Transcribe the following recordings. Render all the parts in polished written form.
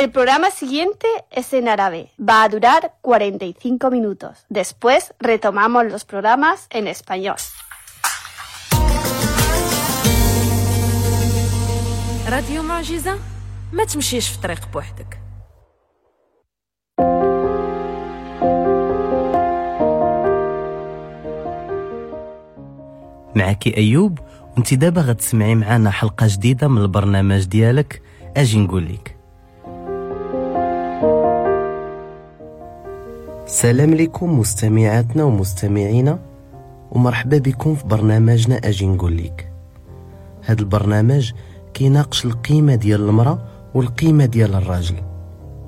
El programa siguiente es en árabe. Va a durar 45 minutos. Después retomamos los programas en español. راديو معجزة، ما تمشيش في طريق بوحدك. معك أيوب، وانت دابا غتسمعي معنا حلقة جديدة من البرنامج ديالك أجي نقول لك. سلام لكم مستمعاتنا ومستمعينا، ومرحبا بكم في برنامجنا أجي نقول لك. هذا البرنامج كيناقش القيمة ديال المرأة والقيمة ديال الراجل،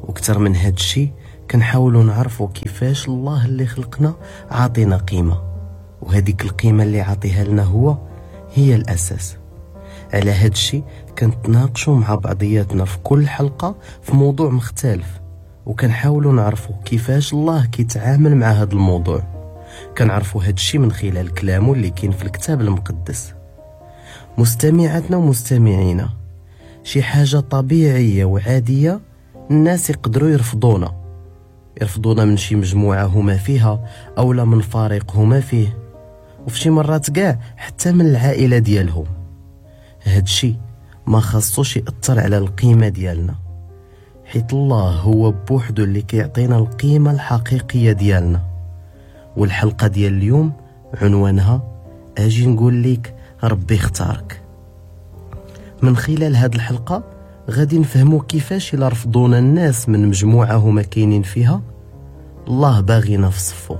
وكتر من هاد الشي كنحاولوا نعرفوا كيفاش الله اللي خلقنا عاطينا قيمة، وهذيك القيمة اللي عاطيها لنا هو هي الأساس. على هاد الشي كنتناقشوا مع بعضياتنا في كل حلقة في موضوع مختلف، وكنحاولوا نعرفوا كيفاش الله كيتعامل مع هاد الموضوع. كنعرفوا هاد الشي من خلال كلامه اللي كاين في الكتاب المقدس. مستمعاتنا ومستمعينا، شي حاجة طبيعية وعادية الناس يقدروا يرفضونا من شي مجموعة هما فيها أو لا من فريق هما فيه، وفي شي مرات كاع حتى من العائلة ديالهم. هادشي ما خاصوش يأثر على القيمة ديالنا، حيت الله هو بوحدو اللي كيعطينا القيمة الحقيقية ديالنا. والحلقة ديال اليوم عنوانها أجي نقول لك ربي اختارك. من خلال هاد الحلقة غادي نفهمو كيفاش إلا رفضونا الناس من مجموعة هما كاينين فيها، الله باغينا في صفو.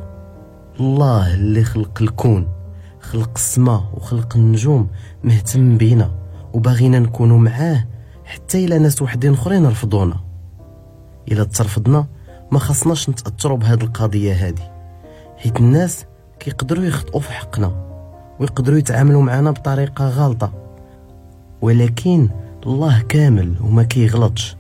الله اللي خلق الكون، خلق السماء وخلق النجوم، مهتم بينا وباغينا نكونوا معاه حتى إلا ناس وحدين اخرين رفضونا. إلا ترفضنا ما خصناش نتأثروا بهاد القضية هادي، حيت الناس كيقدروا يخطئوا في حقنا ويقدروا يتعاملوا معنا بطريقة غلطة، ولكن الله كامل وما كيغلطش.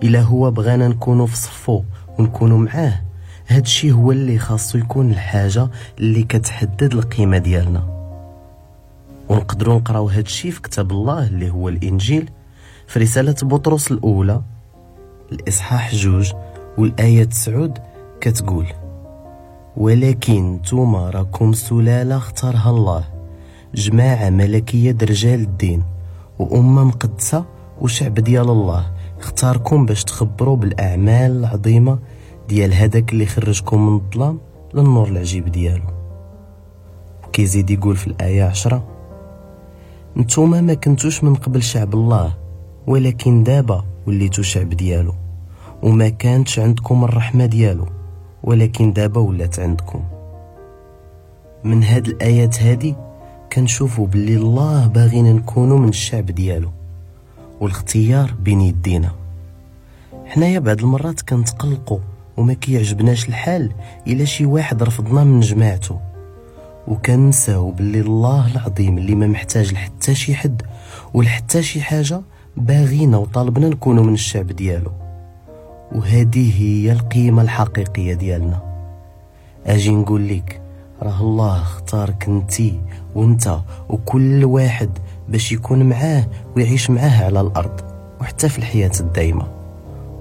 إلا هو بغانا نكونوا في صفو ونكونوا معاه، هادشي هو اللي خاصو يكون الحاجة اللي كتحدد القيمة ديالنا. ونقدروا نقراو هادشي في كتاب الله اللي هو الإنجيل، في رسالة بطرس الأولى الإصحاح 2 والآية 9 كتقول: ولكن نتوما راكم سلالة اختارها الله، جماعة ملكية رجال الدين وأمة مقدسة وشعب ديال الله، اختاركم باش تخبروا بالأعمال العظيمة ديال هذاك اللي خرجكم من الظلام للنور العجيب ديالو. وكيزيد يقول في الآية 10: نتوما ما كنتوش من قبل شعب الله، ولكن دابا وليتو شعب ديالو، وما كانتش عندكم الرحمة ديالو، ولكن دابا ولات عندكم. من هاد الآيات هادي كنشوفوا باللي الله باغينا نكونوا من الشعب ديالو، والاختيار بين يدينا. حنايا بعض المرات كنتقلقوا وما كيعجبناش الحال إلا شي واحد رفضنا من جماعته، وكنساو باللي الله العظيم اللي ما محتاج لحتى شي حد ولحتى شي حاجة باغينا وطالبنا نكونوا من الشعب ديالو، وهذه هي القيمة الحقيقية ديالنا. أجي نقول لك راه الله اختارك انتي وانت وكل واحد باش يكون معاه ويعيش معاه على الأرض وحتى في الحياة الدايمة.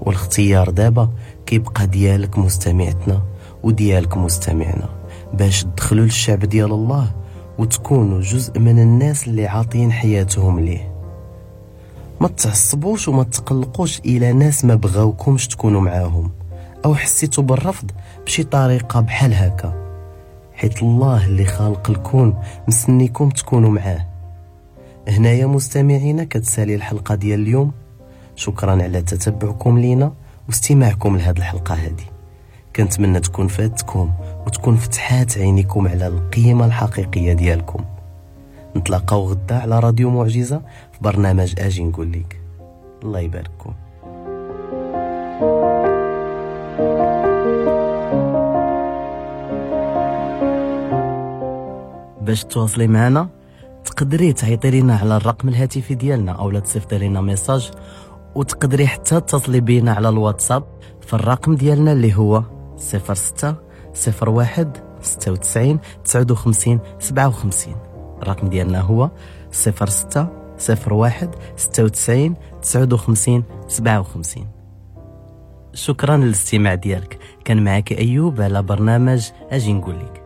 والاختيار دابا كيبقى ديالك مستمعتنا وديالك مستمعنا، باش تدخلوا للشعب ديال الله وتكونوا جزء من الناس اللي عاطين حياتهم ليه. ما تعصبوش وما تقلقوش إلى ناس ما بغاوكمش تكونوا معاهم أو حسيتوا بالرفض بشي طريقة بحال هكا، حيت الله اللي خالق الكون مستنيكم تكونوا معاه. هنايا مستمعينا كتسالي الحلقة ديال اليوم. شكرا على تتبعكم لينا واستماعكم لهذه الحلقة هذه. كنتمنى تكون فاتكم وتكون فتحات عينيكم على القيمة الحقيقية ديالكم. نتلاقاو غدا على راديو معجزة في برنامج أجي نقول لك. الله يبارككم. باش تواصلي معنا تقدري تعيطي لنا على الرقم الهاتفي ديالنا او لا تصيفطي لنا message، وتقدري حتى تتصلي بينا على الواتساب في الرقم ديالنا اللي هو 06 01 96 59 57. الرقم ديالنا هو 06 01 96 59 57. شكرا للاستماع ديالك. كان معك ايوب على برنامج اجي نقول لك.